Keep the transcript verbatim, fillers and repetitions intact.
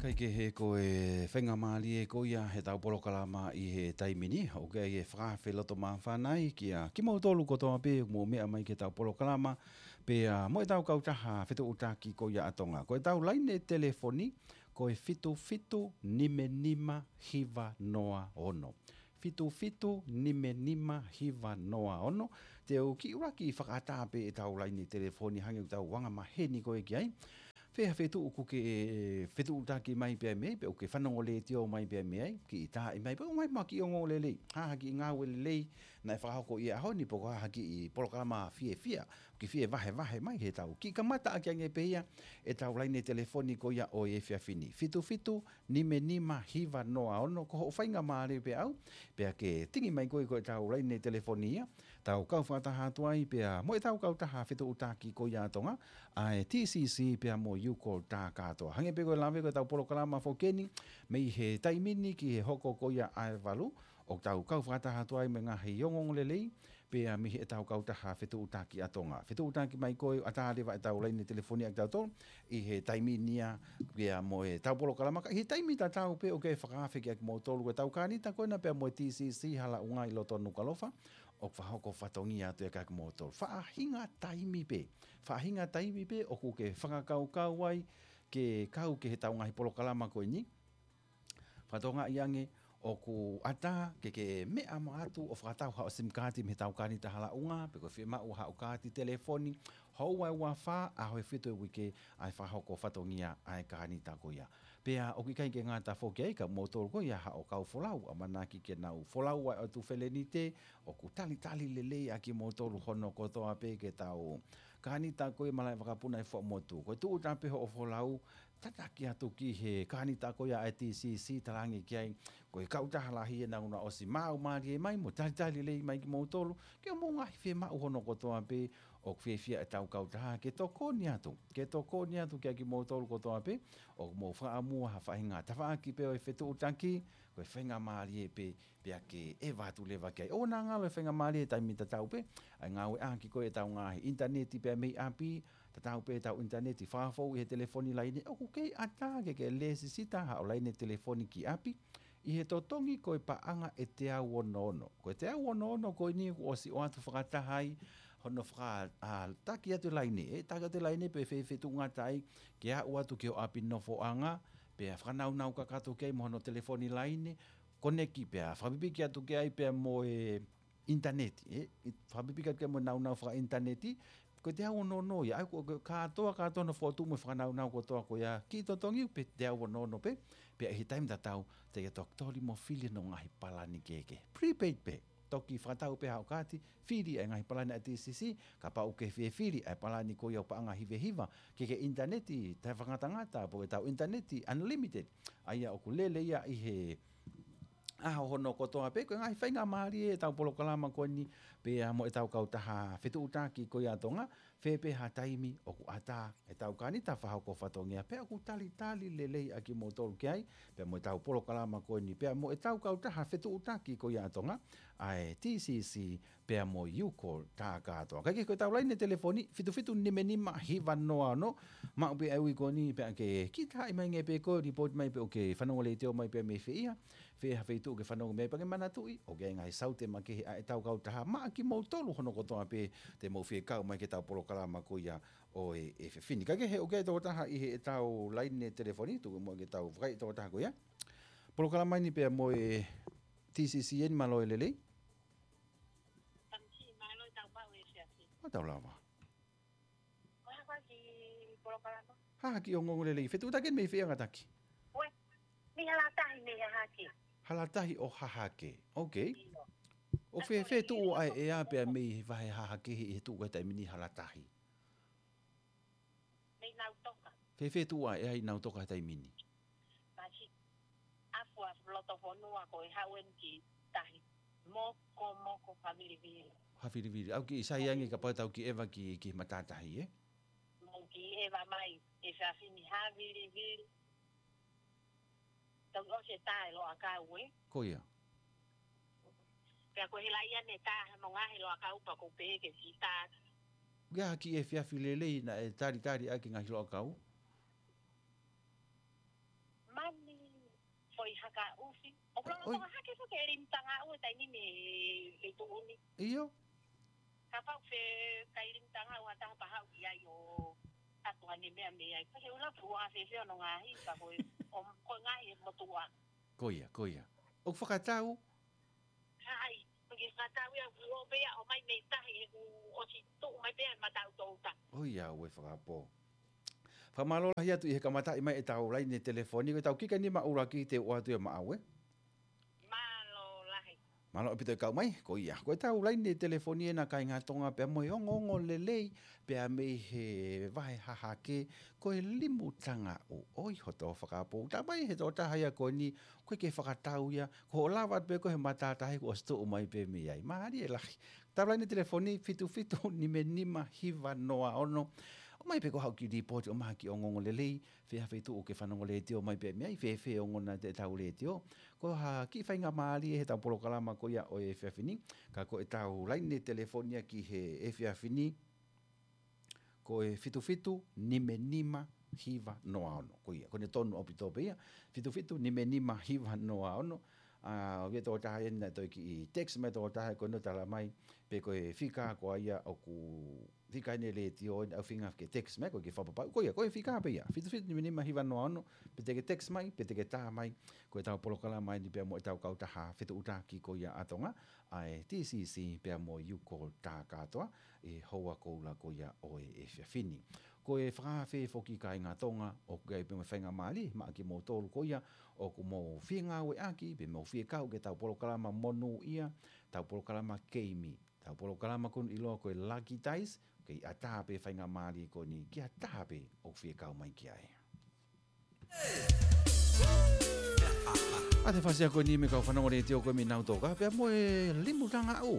Kaikehe ko e faingamālie ko ia he tau polokalama ʻi he taimi ni, ʻoku ʻi ai e fakaafe loto māfana ai kia kimoutolu kotoa pē mou meʻa mai ki he tau polokalama, pea mo e tau kautaha fetuʻutaki ko ia ʻa Tonga. Ko e tau laine telefoni, ko e fitu fitu nima nima hiva noa ono. Fitu fitu nima nima hiva noa ono. Te u kiʻi ʻuluaki fakaʻatā pē e tau laine telefoni hangē ʻoku tau anga maheni ko ē ki ai. Fē ha feituʻu ʻoku ke fetuʻutaki mai pea mei ai, pe ʻoku ke fanongo letiō mai pea mei ai, kiʻi taaʻi mai, pe ʻoku ʻomai mo ha kiʻi ongoongo lelei, ha ha kiʻi ngāue lelei naʻe fakahoko ʻi he ʻaho ni, pe ko ha ha kiʻi polokalama fiefia, ke fie vahevahe mai he tau. Kiʻi kamata ʻaki ange pē ia e tau laine telefoni ko ia ʻo e efiafi ni. Fitu fitu nima nima hiva noa ono, ko hoʻo faingamālie pē ʻaʻau, pea ke tingi mai koe ko e tau laine telefoni ia, tau kau fakataha atu ai pea mo e tau kautaha fetuʻutaki ko ia ʻa Tonga, ʻa e T C C pea mo e U-Call Takatoa. Hangē pē ko e lave ko e tau polokalama foki eni, mei he taimi ni ki he hoko ko ia ʻa e valu, ʻoku tau kau fakataha atu ai mo e ngaahi ongoongo lelei, pea mei he tau kautaha fetuʻutaki ʻa Tonga. Fetuʻutaki mai koe ʻo ʻatā leva e tau laine telefoni ʻa kitautolu, ʻi he taimi ni ia, pea mo e tau polokalama ka, ʻi he taimi tatau pē ʻoku ke fakaafe kia kimoutolu, ko e tau kānita ko ena pea mo e T C C Hala ʻUnga ʻi loto Nukuʻalofa, ʻoku fakahoko fatongia atu ia kia kimoutolu. Faʻahinga taimi pē, faʻahinga taimi pē ʻoku ke fakakaukau ai ke kau ki he tau ngaahi polokalama ko eni. Fakatokangaʻi ange ʻoku ʻatā ke ke meʻa mai atu ʻo fakatau haʻo sim kaati mei he tau kānita Hala ʻUnga, pe ko e fiemaʻu haʻo kaati telefoni, houa ʻe ua fā, ʻaho ʻe fitu he uike, ʻa e fakahoko fatongia ʻa e kānita ko ia. Pea ʻoku ʻikai ke ngata foki ai kia moutolu ko ia haʻo kau folau, ʻamanaki ke nau folau ʻa e ʻOtu Felenite, ʻoku talitali lelei ʻa kimoutolu hono kotoa pē ki he tau kānita ko ia malaʻe vakapuna ʻi Fuaʻamotu. Ko e tūʻuta pē hoʻo folau, tataki atu ki he kānita ko ia ʻa e T C C, talaange ki ai, ko e kautaha lahi ʻe naʻa nau ʻosi maʻu mālie mai mo talitali lelei mai kimoutolu, ki hoʻomou ngaahi fiemaʻu hono kotoa pē, ʻoku fiefia e tau kautaha ke tokoni atu, ke tokoni atu kia kimoutolu kotoa pē ʻoku mou fakaʻamua ha faʻahinga tafaʻaki pē ʻo e fetuʻutaki, ko e faingamālie pē, pea ke ʻeva atu leva ki ai. ʻOua naʻa ngalo e faingamālie he taimi tatau pē, ʻa e ngāueʻaki ko ē e tau ngaahi ʻinitaneti pea mei ʻapi, tatau pē e tau ʻinitaneti fakafou ʻi he telefoni laine, ʻoku kei ʻatā ke ke lēsisita haʻo laine telefoni ki ʻapi, ʻi he totongi ko e paʻanga ʻe teau ono ono. Ko e teau ono ono ko eni kuo ʻosi ʻoatu fakataha ai hono faka-, ʻa, taki atu e laine, ʻe, taki atu e laine pe fefetuʻu ngata ai, ke aʻu atu ki ho ʻapi nofoʻanga, pea fakanaunau kakato ki ai mo hono telefoni laine, koneki pea fakapipiki atu ki ai pea mo e ʻinitaneti, ʻe, ʻi, fakapipiki atu ki ai mo e naunau fakaʻinitaneti, ko e teau ono ono ia, ʻa ia ko e kātoa, kātoa hono fokotuʻu mo e fakanaunau kotoa ko ia, kiʻi totongi pe teau ono ono pē, pea ʻi he taimi tatau, te ke toki toli mo fili hono ngaahi palani kehekehe. Prepaid pē, toki fakatau pē haʻo kaati, fili ʻa e ngaahi palani ʻa e T C C, kapau ʻoku ke fie fili ʻa e palani ko ia ʻo paʻanga hiva hiva, ke ke ʻinitaneti taʻefakangatangata, pe ko e tau ʻinitaneti unlimited, ʻa ia ʻoku lele ia ʻi he ʻaho hono kotoa pē, ko e ngaahi faingamālie e tau polokalama ko eni, pea mo e tau kautaha fetuʻutaki ko ia ʻa Tonga, fē pē ha taimi ʻoku ʻatā e tau kānita fakahoko fatongia, pea ʻoku talitali lelei ʻa kimoutolu ki ai, pea mo e tau polokalama ko eni, pea mo e tau kautaha fetuʻutaki ko ia ʻa Tonga, ʻa e T C C, pea mo e U-Call Takatoa. Kaikehe ko e tau laine telefoni, fitu fitu nima nima hiva noa ono, maʻu pē ʻa e ui ko eni pea ke kiʻi taaʻi mai ange pē koe, lipooti mai pe ʻoku ke fanongo letiō mai pea mei fē ia, fē ha feituʻu ʻoku ke fanongo mai pea ke manatuʻi, ʻoku ʻi ai ngaahi saute makehe ʻa e tau kautaha maʻa kimoutolu hono kotoa pē te mou fie kau mai ki he tau polokalama ko ia ʻo e, e efiafi ni. Kaikehe ʻoku ʻi ai e tokotaha ʻi he tau laine telefoni, tuku muʻa ke tau vakai e tokotaha ko ia. Polokalama eni pea mo e T C C eni, mālō e lelei. Tamasiʻi, mālō e tau maʻu e efiafi. Mālō lava. Ko e hā e kiʻi polokalama? Hahake, ongoongo lelei. Fetuʻutaki mei fē, Angataki? Ue, mei Halatahi, mei Hahake. Halatahi ʻo Hahake. Ok. ʻIo. ʻOku fē, fē tuʻu ʻa e ʻea pea mei he vahe Hahake ʻi he tuʻu ko ē he taimi ni Halatahi? Mei Nautoka. Fē, fē tuʻu ʻa e ʻea ʻi Nautoka he taimi ni? Masi, afu, afu loto fonua ko e haʻu eni ki tahi. Moko, moko, favilivili. Favilivili. ʻOku kiʻi sai ange kapau te tau kiʻi ʻeva ki, ki matātahi, ē? Mou kiʻi ʻeva mai, e efiafi ni, favilivili. Tau ʻosi e tā e Loʻakau, ē? Ko ia. Pea ko e hela ia ne tā he mo e ngaahi Loʻakau pea ʻoku ou pehē ke kiʻi tā. Ko e hā e kiʻi efiafi lelei naʻe talitali ʻaki e ngaahi Loʻakau? Foʻi haka ufi. ʻOku lava ʻoi. Tonga hake foki e limu tanga ʻo e taimi ni mei he tuʻu ni. ʻIo. Kapau ʻe kai limu tanga ʻo ha taha pea haʻu ki ai ʻo ʻatu ʻene meʻa mei ai. Ko e ʻuluaki ua fefeo no ngaahi, ka ko e, ʻo, ko e ngaahi e motuʻa. Ko ia, ko ia. ʻOku fakatau? ʻAi, ʻoku fakatau ia ʻoku ō pē ia ʻo ʻomai mei tahi he kuo ʻosi tuʻu mai pē ia mataʻu touta. ʻOiauē fakapō. Fakamālō lahi atu ʻi he kamataʻi mai ʻetau laine telefoni, ko ʻetau kiʻi kainima ʻuluaki te u ʻoatu ia maʻau ē. Mālō lahi. Mālō ʻaupito e kau mai, ko ia. Ko ʻetau laine telefoni ena kāinga Tonga pea mo e ongoongolelei, pea mei he vahe hahake, ko e limu tanga ʻo ʻoi hoto fakapō. Tā mai he tokotaha ia ko eni, ko e ke fakatau ia, ko hoʻo lava atu pē ko e he matātahi kuo ʻosi tuʻu mai pē mei ai. Mālie lahi. ʻEtau laine telefoni fitu fitu nima nima hiva noa ono. ʻOmai pē ko haʻo kiʻi lipooti ʻo maha kiʻi ongoongolelei, fē ha feituʻu ke fanongo letiō mai pē mei ai, fēfē ongona ʻetau letiō. Ko ha kiʻi faingamālie heʻetau polokalama ko ia ʻo e efiafi ni, ka ko ʻetau laine telefoni ia ki he efiafi ni, ko e fitu fitu nima nima hiva noa ono. Ko ia, ko ʻene tonu ʻaupito pē ia, fitu fitu nima nima hiva noa ono. ʻA, ʻoku ʻi ai e tokotaha ena ʻe toe kiʻi text mai e tokotaha ko ena ʻo tala mai, pe ko e fika ko ia ʻoku fika ʻene letiō ʻoku ʻuhinga ke text mai, ko e ke fakapapau. Ko ia, ko e fika pē ia, fitu fitu nima nima hiva noa ono, pe te ke text mai, pe te ke tā mai, ko ʻetau polokalama eni pea mo ʻetau kautaha fetuʻutaki ko ia ʻa Tonga, ʻa e T C C pea mo e Uko Takatoa, ʻi he houa koula ko ia ʻo e efiafi ni. Ko e fakaafe foki kāinga Tonga, ʻoku ʻi ai pē mo e faingamālie, maʻa kimoutolu ko ia, ʻoku mou fie ngāueʻaki, pe mou fie kau ki heʻetau polokalama monūʻia, ʻetau polokalama keimi, ʻetau polokalama ko eni ʻiloa ko e Lucky Dice, kei ʻatā pē faingamālie ko eni, ki ha taha pē ʻoku fie kau mai ki ai. ʻA e fasi ko eni mei he kau fanongo letiō ko e mei Nautoka, pea mo e limu tanga ʻo